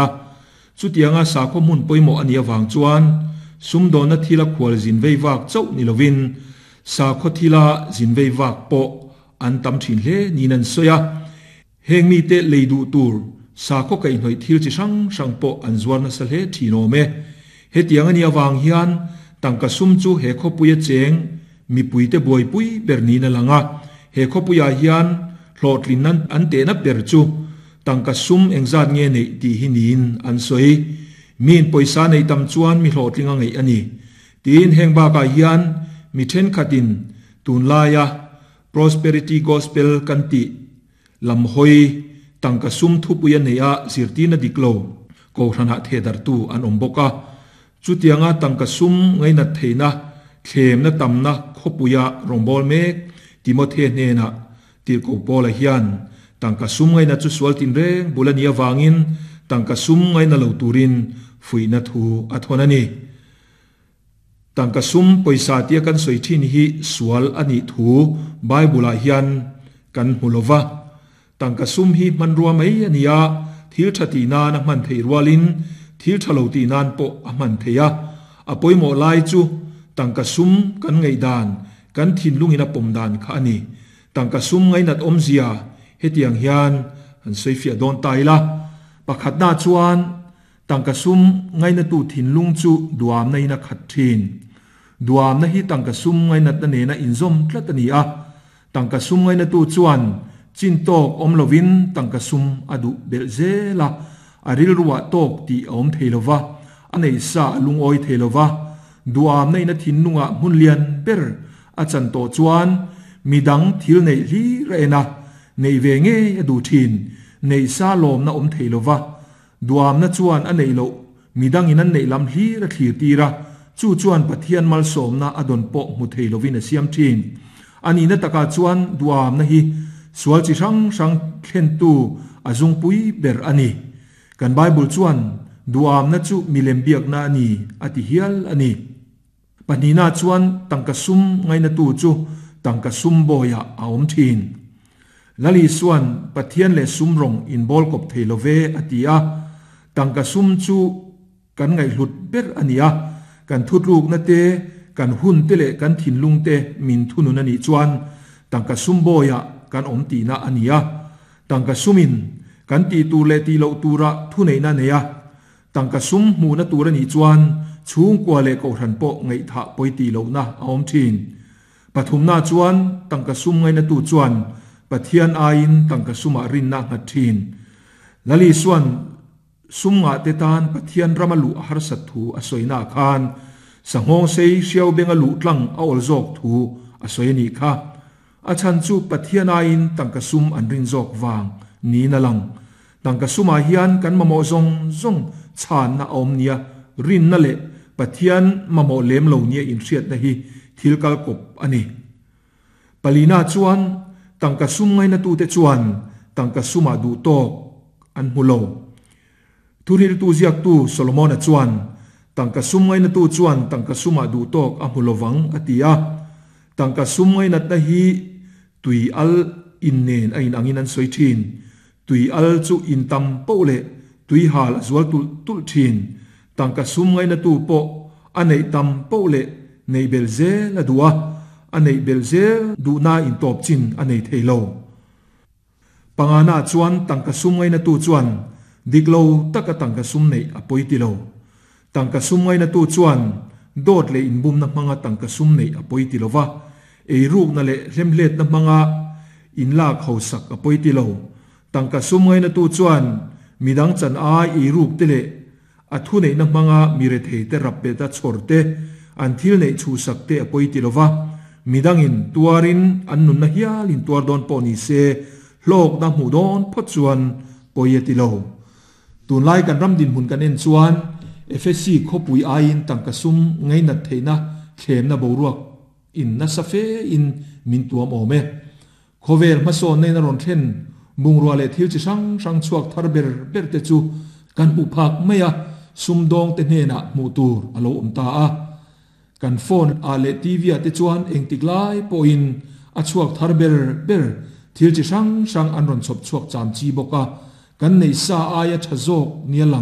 a. Chutianga sakhaw hmun pawimawh a nih avang chuan sumdawnna thila khual zin vei vak chauh ni lovin sakhaw thila zin vei vak pawh an tam thin hle niin an sawi a. Heng mite lei duh tur sakhaw kaihhnawih thil chi hrang hrang pawh an zuar nasa hle thin awm e. Hetiang a nih avang hian tangka sum chu he khawpuia cheng mipuite buaipui ber niin a lang a. He khawpuiah hian hlawhtlinna an tehna ber chu tangka sum engzat nge neih tih hi niin an sawi. Miin pawisa neih tam chuan mi hlawhtling a ngeih a ni. Tiin heng bakah hian mi thenkhatin tunlaia Prosperity Gospel kan tih lam hawi tangka sum thupui a neih a zirtirna dik lo kohhranah thehdarhtu an awm bawk a. Chutianga tangka sum ngainat theihna thlemna tamna khawpuia rawngbâwl mek Timothe hnenah Tirhkoh Paula hian tangka sum ngaina chu sual tinreng bul a nih avangin tangka sum ngaina lo turin fuihna thu a thawn a ni. Tangka sum pawisa tia kan sawi thin hi sual a nih thu Bible-ah hian kan hmu lo va. Tangka sum hi hmanrua mai a ni a, thil tha tih nan a hman theih rualin thil tha lo tih nan pawh a hman theih a. A pawimawh lai chu tangka sum kan ngaihdan, kan thinlungin a pawm dan kha a ni. Tangka sum ngainat awmzia hetiang hian han sawifiah dawn ta ila. Pakhatna chuan Tangka sum ngainatu thinlung chu duamna in a khat thin. Duamna hi tangka sum ngainatna nena inzawm tlat a ni a. Tangka sum ngainatu chuan chin tawk awm lovin tangka sum a duh belh zel a, a rilruah tawk tih a awm thei lova, a neih sa a lungawi thei lova. Duamna in a thinlungah hmun lian ber a chan tawh chuan midang thil neih hlir a en a, neih ve ngei a duh thin. Neih sa lawmna awm thei lova, Duamna chuan a neih loh, midangin an neih lam hlir a thlir tir a, chu chuan Pathian malsawmna a dawn pawh hmu thei lovin a siam thin. A nihna takah chuan duamna hi sual chi hrang hrang thlentu a zungpui ber a ni. Kan Bible chuan duamna chu milem biakna a ni a ti hial a ni. Pahnihna chuan tangka sum ngainatu chu tangka sum bawiah a awm thin. Lal Isua'n Pathian leh sum rawng inbawl kawp thei lo ve a ti a, tangka sum chu kan ngaihhlut ber a ni a, kan thutlukna te, kan hun te leh kan thinlung te min thunun a nih chuan tangka sum bawiah kan awm tihna a ni a, tangka sumin kan tih tur leh tih loh turah thuneihna a nei a, Tangka sum hmuhna tur a nih chuan chhungkua leh kohhran pawh ngaihthah pawi tih lohna a awm thin. Pathumna chuan tangka sum ngainatu chuan Pathian aiin tangka sumah rinna a nghat thin. Lal Isua'n sum ngahte tan Pathian rama luh a harsat thu a sawina ah khan sanghawng sei hriau benga luh tlang a awl zawk thu a sawi a nih kha. A chhan chu Pathian aiin tangka sum an rin zawk vang niin a lang. Tangka sumah hian kan mamawh zawng zawng chhanna a awm nia, rinna leh Pathian mamawh lem lo nia inhriatna hi thil kal kawp a ni. Palina chuan tangka sum ngainatute chuan tangka sumah duh tawk an hmu lo. Thuhriltu ziaktu Solomona chuan tangka sum ngainatu chuan tangka sumah duh tawk a hmu lovang a ti a. Tangka sum ngainatna hi tui al in nen a inangin an sawi thin. Tui al chu in tam poh leh tui hal a zual tulh tulh thin. Tangka sum ngainatu pawh a neih tam poh leh neih bel zel a duh a, a neih bel zel duhna intawp chin a nei thei lo. Pangana chuan tangka sum ngainatu chuan dik lo taka tangka sum neih a pawi ti lo. Tangka sum ngainatu chuan dawt leh inbumna hmanga tangka sum neih a pawi ti lo va, eirukna leh hlemhletna hmanga inlak hausak a pawi ti lo. Tangka sum ngainatu chuan midang chan ai eiruk te leh a thuneihna hmanga mi rethei te rap bet a chhawr te, an thil neih chhuhsak te a pawi ti lo va, midangin tuarin an nunna hial in tuar dawn pawh ni se hlawkna hmuh dawn phawt chuan pawi a ti lo. Tunlai kan ram dinhmun kan en chuan Efesi khawpui aiin tangka sum ngainat theihna thlemna boruak in nasa fe in min tuam awm e. Khawvel hmasawnna in a rawn thlen bungrua leh thil chi hrang hrang chhuak thar ber ber te chu kan hmuh phak mai a, sumdawng te hnenah hmuh tur a lo awm ta a. Kan phone ah leh TV ah te chuan engtik lai pawhin a chhuak thar ber ber thil chi hrang hrang an rawn chhawp chhuak cham chi bawk a, kan neih sa aia tha zawk nia lang.